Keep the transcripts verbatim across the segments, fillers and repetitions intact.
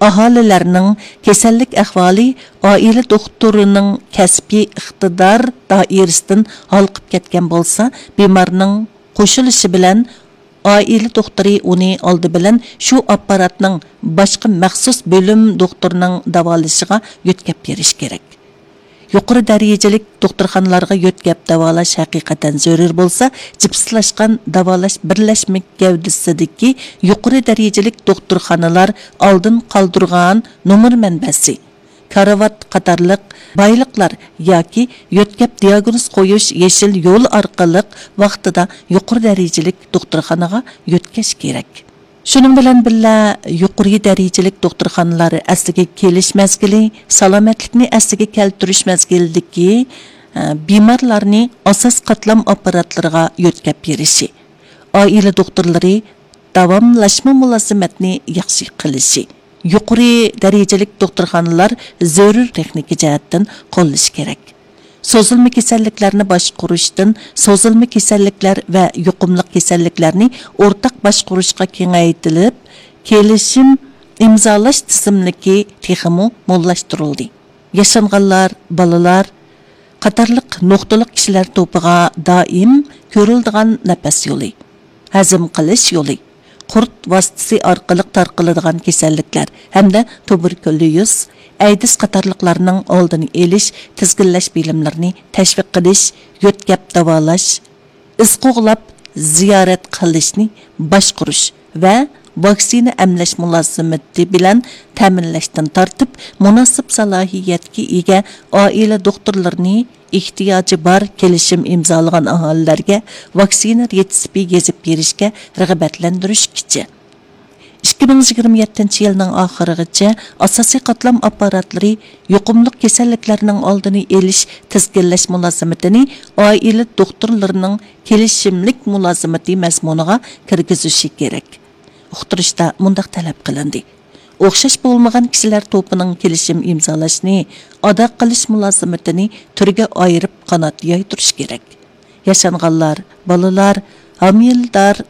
ئاھالىلەرنىڭ كېسەللىك ئەھۋالى ئائىلە دوختۇرىنىڭ كەسپىي ئىقتىدار دائىرىسىدىن ھالقىپ كەتكەن بولسا، بىمارنىڭ قوشۇلۇشى بىلەن ئائىلە دوختۇرى ئۇنى ئالدى بىلەن شۇ ئاپپاراتنىڭ باشقا مەخسۇس بۆلۈم دوختۇرىنىڭ داۋالىشىغا يۆتكەپ بېرىشى كېرەك. يۇقىرى دەرىجىلىك دوختۇرخانىلارغا يۆتكەپ داۋالاش ھەقىقەتەن زۆرۈر بولسا، جىپسلاشقان داۋالاش بىرلەشمە گەۋدىسىدىكى يۇقىرى دەرىجىلىك دوختۇرخانىلار ئالدىن قالدۇرغان نومۇر مەنبەسى، كارىۋات قاتارلىق بايلىقلار ياكى يۆتكەپ دىياگنوز قويۇش يېشىل يولى ئارقىلىق ۋاقتىدا يۇقىرى دەرىجىلىك دوختۇرخانىغا يۆتكەش كېرەك. شۇنىڭ بىلەن بىللە، يۇقىرى دەرىجىلىك دوختۇرخانىلار ئەسلىگە كېلىش مەزگىلى، سالامەتلىكنى ئەسلىگە كەلتۈرۈش مەزگىلىدىكى، ئە، بىمارلارنى ئاساس قاتلام ئاپپاراتلىرىغا يۆتكەپ بېرىشى، ئائىلە دوختۇرلىرى داۋاملاشما مۇلازىمەتنى ياخشى قىلىشى، يۇقىرى دەرىجىلىك دوختۇرخانىلار زۆرۈر تېخنىكا جەھەتتىن قوللىشى كېرەك. سوزۇلما كېسەللىكلەرنى باشقۇرۇشتىن سوزۇلما كېسەللىكلەر ۋە يۇقۇملۇق كېسەللىكلەرنى ئورتاق باشقۇرۇشقا كېڭەيتىلىپ، كېلىشىم ئىمزالاش تىزىملىكى تېخىمۇ موللاشتۇرۇلدى. ياشانغانلار، بالىلار قاتارلىق نۇقتىلىق كىشىلەر توپىغا دائىم كۆرۈلىدىغان نەپەس يولى، ھەزىم قىلىش يولى، قۇرت ۋاسىتىسى ئارقىلىق تارقىلىدىغان كېسەللىكلەر ھەمدە تۇبېركۇليوز، ئەيدىز قاتارلىقلارنىڭ ئالدىنى ئېلىش، تىزگىنلەش بىلىملىرىنى تەشۋىق قىلىش، يۆتكەپ داۋالاش، ئىز قوغلاپ زىيارەت قىلىشنى باشقۇرۇش ۋە ۋاكسىنا ئەملەش مۇلازىمىتى بىلەن تەمىنلەشتىن تارتىپ، مۇناسىپ سالاھىيەتكە ئىگە ئائىلە دوختۇرلىرىنى ئېھتىياجى بار كېلىشىم ئىمزالىغان ئاھالىلەرگە ۋاكسىنا رېتسېپى يېزىپ بېرىشكە رىغبەتلەندۈرۈشكىچە. ئىككى مىڭ يىگىرمە يەتتىنچى يىلنىڭ ئاخىرىغىچە ئاساسىي قاتلام ئاپپاراتلىرى يۇقۇملۇق كېسەللىكلەرنىڭ ئالدىنى ئېلىش، تىزگىنلەش مۇلازىمىتىنى ئائىلە دوختۇرلىرىنىڭ كېلىشىملىك مۇلازىمىتى مەزمۇنىغا كىرگۈزۈشى كېرەك. ئۇقتۇرۇشتا مۇنداق تەلەپ قىلىندى: ئوخشاش بولمىغان كىشىلەر توپىنىڭ كېلىشىم ئىمزالاشنى ئادا قىلىش مۇلازىمىتىنى تۈرگە ئايرىپ قانات يايدۇرۇش كېرەك. ياشانغانلار، بالىلار، ھامىلىدار،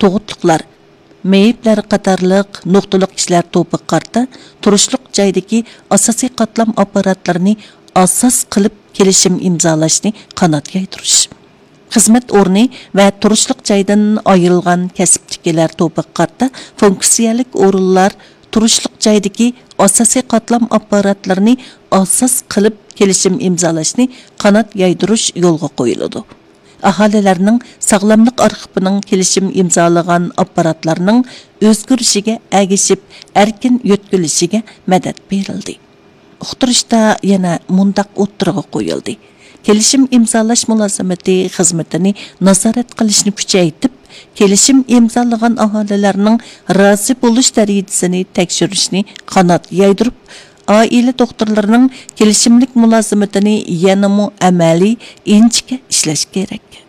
تۇغۇتلۇقلار، مېيىپلەر قاتارلىق نۇقتىلىق كىشىلەر توپىغا قارىتا تۇرۇشلۇق جايدىكى ئاساسىي قاتلام ئاپپاراتلىرىنى ئاساس قىلىپ كېلىشىم ئىمزالاشنى قانات يايدۇرۇش. خىزمەت ئورنى ۋە تۇرۇشلۇق جايدىن ئايرىلغان كەسىپتىكىلەر توپىغا قارىتا فۇنكسىيەلىك ئورۇنلار، تۇرۇشلۇق جايدىكى ئاساسىي قاتلام ئاپپاراتلىرىنى ئاساس قىلىپ كېلىشىم ئىمزالاشنى قانات يايدۇرۇش يولغا قويۇلىدۇ. ئاھالىلەرنىڭ ساغلاملىق ئارخىپىنىڭ كېلىشىم ئىمزالىغان ئاپپاراتلارنىڭ ئۆزگىرىشىگە ئەگىشىپ ئەركىن يۆتكىلىشىگە مەدەت بېرىلدى. ئۇقتۇرۇشتا يەنە مۇنداق ئوتتۇرىغا قويۇلدى: كېلىشىم ئىمزالاش مۇلازىمىتى خىزمىتىنى نازارەت قىلىشنى كۈچەيتىپ، كېلىشىم ئىمزالىغان ئاھالىلەرنىڭ رازى بولۇش دەرىجىسىنى تەكشۈرۈشنى قانات يايدۇرۇپ، ئائىلە دوختۇرلىرىنىڭ كېلىشىملىك مۇلازىمىتىنى يەنىمۇ ئەمەلىي، ئىنچىكە ئىشلەش كېرەك.